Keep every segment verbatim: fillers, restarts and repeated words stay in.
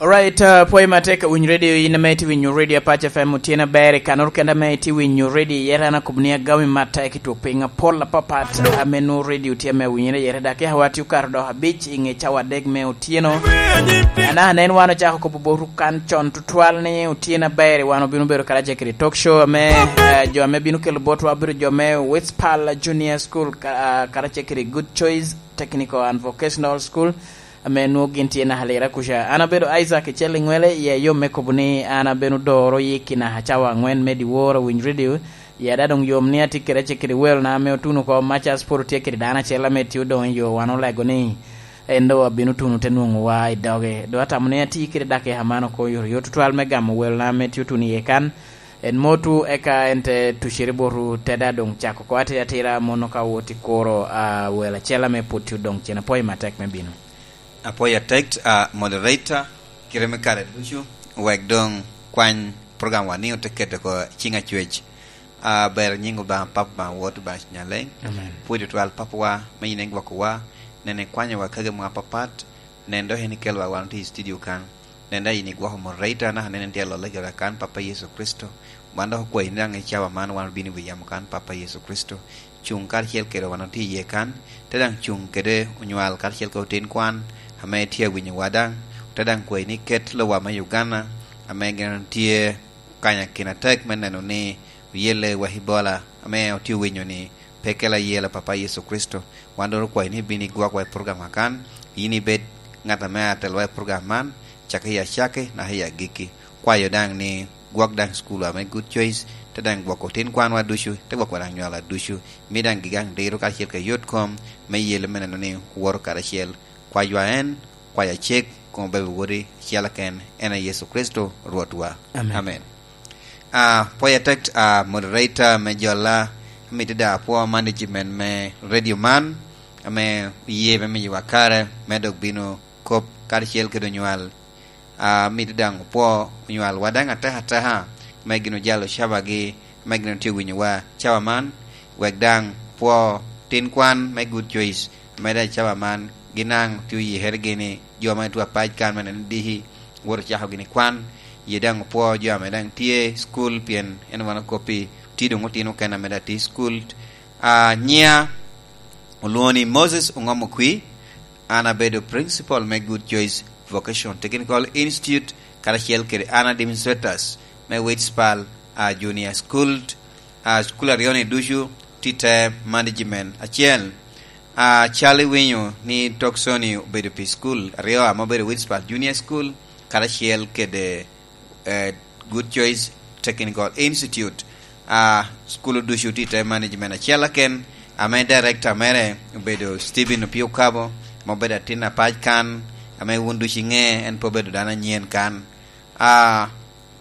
Alright, uh, pwoyo matek winyo radio, in ame itye winyo radio Apac F M, otyeno aber, i kanoro kende ame itye winyo radio, yere an akobo ni agami matek i twok piny apol apapat, ame nwoŋo radio tye ame winyere yere, dak yaka wa tye okato dok abic i ŋe cawa adek me otyeno. Anaka nen wan ocako kobo botwu kan con tutwal ni otyeno aber, wan obino bedo karacel kede talk show ame, eh, jo ame bino kelo botwa obedo jo me Westpal Junior School, ka-, ah, karacel kede Good Choice Technical and Vocational School, ame nwoŋo gin tye naka lira kuca. An abedo Isaac Icel Iŋwele, i ayom me kobo ni an abino doro yik i naka cawa aŋwen me dyewor Winy Radio. I ada doŋ yom ni atye kede acel kede welona ame otuno oko, Macas pwod otye kede dano acel ame tye odoŋ i yo, wan olego ni en doŋ abino tuno te nwoŋowa i doge. Doŋ atamo ni atye kede dakika man oko oyotoyot tutwal me gamo welona ame tye otuno iye kan. En motwu, eka en te tucere botwu, te daŋ doŋ cako oko atira atira, mono ka wot i kuro, ah, wel acel ame pwod tye odoŋ cen. Apwoyo matek me bino. Apwoyo atek, ah, moderator, kite me kare ducu, wek doŋ kwany program wa ni ote keto oko i ciŋ acwec. Ah, ber nyiŋ Obaŋa Papa, Obaŋa Wod, Obaŋa Cuny Aleny. Amen. Pwod tutwal Papawa, me yin en gwokowa, nen ikwanyowa kagi mwa apapat, nen dok en ikelowa wan otye i studio kan. Nen daŋ yin igwoko moderator, naka nen en tye alolle kede kan, Papa Yecu Kricito. Wan dok okwayi ni daŋ i cawa man wan obino i wi yamo kan, Papa Yecu Kricito. Cuŋ karacel kede wan otye iye kan, te daŋ cuŋ kede onywal karacel kede otin kwan ame tye awinyowa daŋ. Te daŋ kwayi ni ket lowa me Uganda ame gin tye kanya kin atek me neno ni oyelle wa Ebola ame otye owinyo ni pe kela yela, Papa Yecu Kricito. Wan dok okwayi ni ibin igwokwa i program akan, yin ibed ŋat ame atelwa i program man, cakki i acakki naka i agikki. Kwayo daŋ ni gwok daŋ school ame Good Choice, te daŋ gwoko otin kwanwa ducu, te gwoko daŋ nywalwa ducu. Mi daŋ gigaŋ diro karacel ka yot kom me yelle me neno ni owoto karacel. Kwaywa en, kwaya cek, koŋ obebe wodi acel aken, en a Yecu Kricito Rwotwa. Amen. Amen. Ah, pwoyo atek, ah, moderator me jolla, amito daŋ apwo management me radio man, ame oye me miyowa kare me dok bino kop karacel kede onywal. Ah, amito daŋ opwo onywalwa daŋ atek ateka, me gin ojalo cabagi, me gin otye winyowa cawa man, wek daŋ pwo tin kwan me Good Choice, me daŋ cawa man, gin daŋ tye oyikere gini, jo ma tye apac kan me neno diki, wot ocako gini kwan, ye daŋ opwo jo ame daŋ tye i cukul, pien en wan okoppi, tye doŋ otino okene ame daŋ tye i cukul. Ah, nyiŋa olwoŋo ni Moses Oŋom Okwi, an abedo principal me Good Choice Vocation Technical Institute, karacel kede an administrators me Witspal, ah, Junior School, ah, school aryo-ni ducu tye i te management acel. Ah, cal iwinyo ni Tokson-ni obedo pi school aryo ame obedo Witspal Junior School, karacel kede eh, Good Choice Technical Institute. Ah, school ducu tye i te management acel aken, ame director mere obedo Stephen Opio Kabo, ma obedo atin apac kan, ame wun ducu iŋe, en pe obedo dano anyen kan. Ah,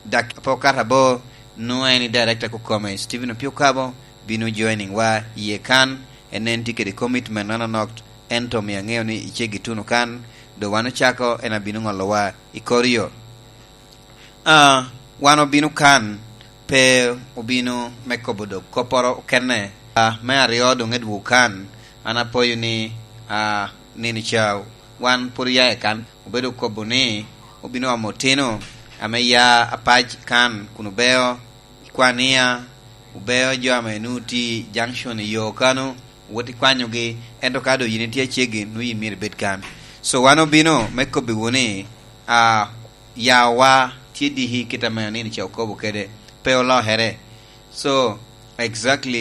dak pe okato abor, nwoŋo en i director kokome, Stephen Opio Kabo, bino joining wa iye kan, en en tye kede commitment nononok, ento omio aŋeo ni iceggi tuno kan, doŋ wan ocako, en abino ŋolowa i kor yo. Ah, wan obino kan, pe obino me kobo dok kopporo okene. Ah, me aryo doŋ edwogo kan, an apoyo ni, ah, nino ca wan pwod oya i kan, obedo kobo ni obino omo otino ame ya apac kan kun obeo i Kwania, obeo jo ame nwoŋo tye i junction i yo kano, wot ikwanyogi, ento ka doŋ yin itye aceggi, nwoŋo yin myero ibed kan. So, wan obino me kobbiwu ni, ah, yawa tye diki kit ame onino ca okobo kede, pe olokere. So, exactly,